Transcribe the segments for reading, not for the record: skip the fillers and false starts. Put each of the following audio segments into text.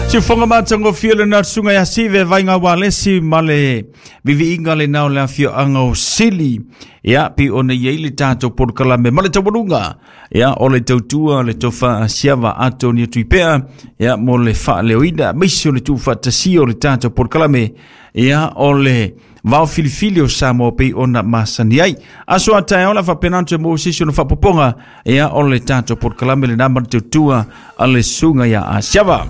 Siufoga matagofie lena susuga ia Sive Vaiga Ualesi ma le viviiga lena o le afioaga o Sili. Ia, pei ona i ai le tatou polokalame ma le taualuga. Ia, o le tautua le tofa a Siava Antonio Tuipea, ia, mo le faaleoina, aemaise o le tuufaatasia o le tatou polokalame. Ia, o le vao filifili o Samoa pei ona masani ai. Aso a taeao la faapena ona toe maua se isi ona faapopoga, ia, o le tatou polokalame lena ma le tautua a le susuga ia Asiava.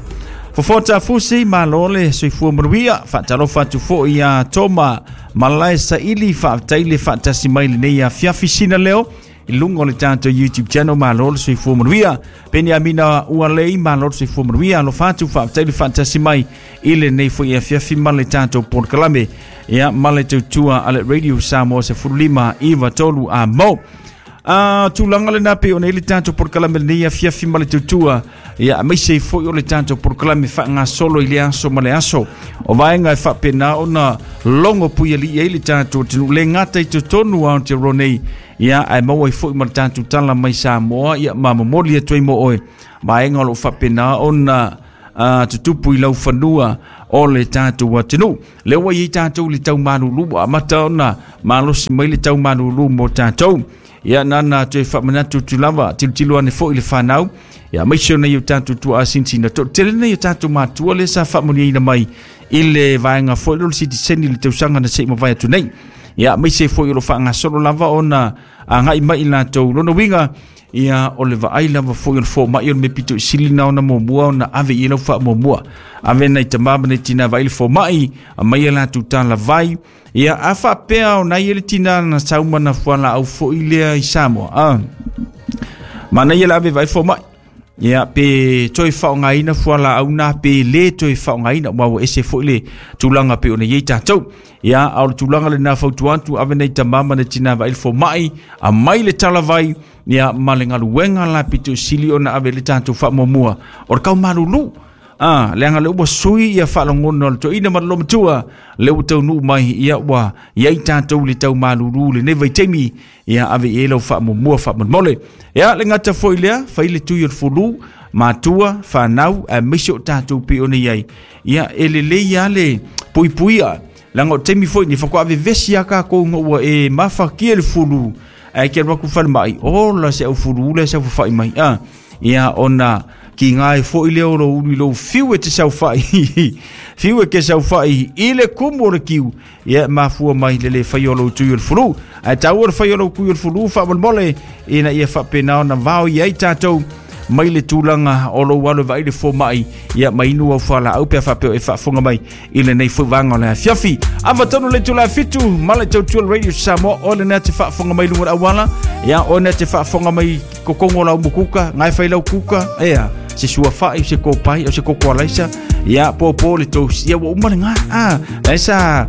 Fofoa Tafusi, malo le soifua manuia. Faatalofa atu foi ia Toma Malae Saili, faafetai le faatasi mai lenei afiafi sina leo i luga o le tatou YouTube channel. Malo le soifua manuia. Peniamina Ualei, malo le soifua manuia. Alofa atu, faafetai le faatasi mai i lenei foi afiafi ma le tatou polokalame. Ia, ma le tautua a le Radio Samoa 15 93 a mo. A tulaga lena pei ona i le tatou polokalame lenei afiafi ma le tautua, ia aemaise ai foi o le tatou polokalame faagasolo i le aso ma le aso. O vaega e faapena ona logo puialii ai le tatou atunuu, le gata i totonu o Aotearoa nei, ia ae maua ai foi ma le tatou tala mai Samoa, ia ma momoli atu ai mo oe vaega o lo o faapena ona tutupu i laufanua o le tatou atunuu. Lea ua i ai tatou i le tau malulu, ua amata ona malosi mai le tau malulu mo tatou. Ia nana toe faamanatu atu lava, tilotilo ane foi i le fanau, ia aemaise o nai o tatou tuaasinsina. Toatele nai o tatou matua lea sa faamanuiaina mai i le vaega foi lea o le sitiseni i le tausaga na se i mavae atu nei. Ia aemaise foi o lo o faagasolo lava ona agai mai i latou. Lona uiga, ia o le vaai lava foi o le fomai o le mea pito i sili na ona muamua ona ave i ai lau faamuamua. Ave nai tama ma nai tina vaai le fomai, aumai a latou talavai. Ia a faapea o nai le tina na sau ma na fualaau foi lea i Samoa. Ah. Manaia le ave vaai fomai. Ia pe toe faaaogaina fualaau na pe le toe faaaogaina, aua ua ese foi le tulaga pei ona i ai tatou. Ia, a o le tulaga lena fautua atu, ave nei tama ma nei tina vaai le fomai, aumai le talavai, ia ma le galuega la pito i sili ona ave le tatou faamuamua o le tau malulu. Ah, leaga lea ua sui ia faalogona o le toeaina ma le olomatua, lea ua taunuu mai, ia ua i ai tatou i le tau malulu lenei vaitaimi, ia ave i ai lau faamuamua faamolemole. Ia le gata foi lea, fai le tui o le fulu, matua, fanau, aemaise o tatou pei ona i ai. Ia e lelei lava le puipuia, leaga o le taimi foi lenei faatoa vevesi lava tatou ina ua e mafatia le fulu, ae te alu atu i le falemai, ola se aufulu lea e saofafai mai. Ah, ia ona kiga ai foi lea o lou ulu i lou fiu e te saofai, fiu e te saofai i le kumu o le kiu, ia e mafua mai le le faia o lou tui o le fulu. Ae taua le faia o lou tui o le fulu faamolemole, ina ia faapena ona vao i ai tatou mai le tulaga o lou alo e vaai le fomai, ia ma inu au fualaau pe a faapea o e faafofoga mai i lenei foi vaega o le afiafi. Ava tonu le itula e 7 ma le tautua le Radio Samoa, o lenei te faafofoga mai luga o le auala, ia o lenei te faafofoga mai kokongo lau mukuka, ngai fai lau kuka, ea, se suafa'i, se kopai, o se koko alaisa, ia, pōpō le toast, ia ua uma lena, ah, la sa